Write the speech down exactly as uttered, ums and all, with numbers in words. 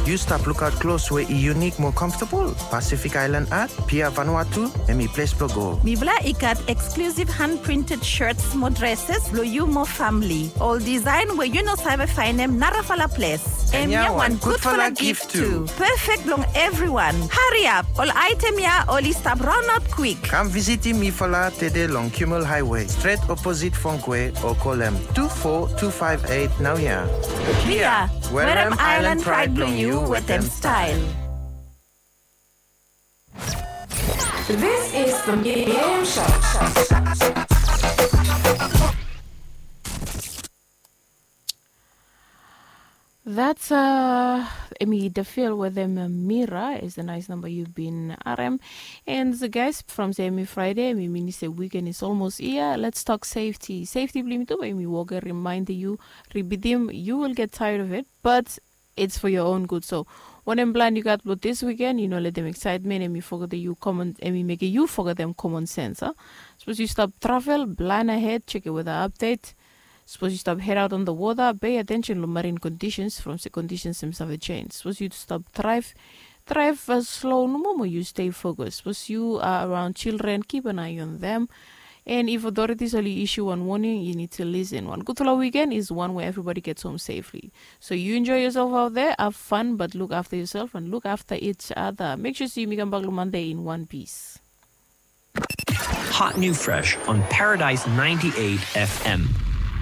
Yu stap lukaot klos we i yunik mo comfortable? Pacific Island Art, Pia Vanuatu, hemi ples blong go. Mifala i gat exclusive hand printed shirts mo dresses blong yu mo famili. Ol design we yu no save faenem narafala ples. Hemia wan gudfala gift tu. Perfect blong evriwan. Hariap, ol aetem ya oli stap raonaot kwik. Kam visitim mifala tede long Kimmel Highway, stret oposit Fongkwe, o kolem tu fo tu faef eit naoia. Pia, werem Island Pride blong yu wetem style. This is the Miriam Show. That's uh, Emi Defil with them uh, Mira is the nice number you've been R M. And the guys from Zemi Friday, Emi Mini say weekend is almost here. Let's talk safety. Safety blim tu, Emi Walker remind you, rebidim, you will get tired of it, but it's for your own good. So, wanem plan you got for this weekend? You know, let them excitement, Emi forget that you common, Emi make you forget them common sense. Huh? Suppose you stop travel, plan ahead, check it with an update. Suppose you stop head out on the water, pay attention to marine conditions from the conditions themselves change. Suppose you stop drive, drive uh, slow no more, you stay focused. Suppose you are around children, keep an eye on them. And if authorities only issue one warning, you need to listen. One good fellow weekend is one where everybody gets home safely. So you enjoy yourself out there, have fun, but look after yourself and look after each other. Make sure you see me come back Monday in one piece. Hot new fresh on Paradise ninety-eight F M.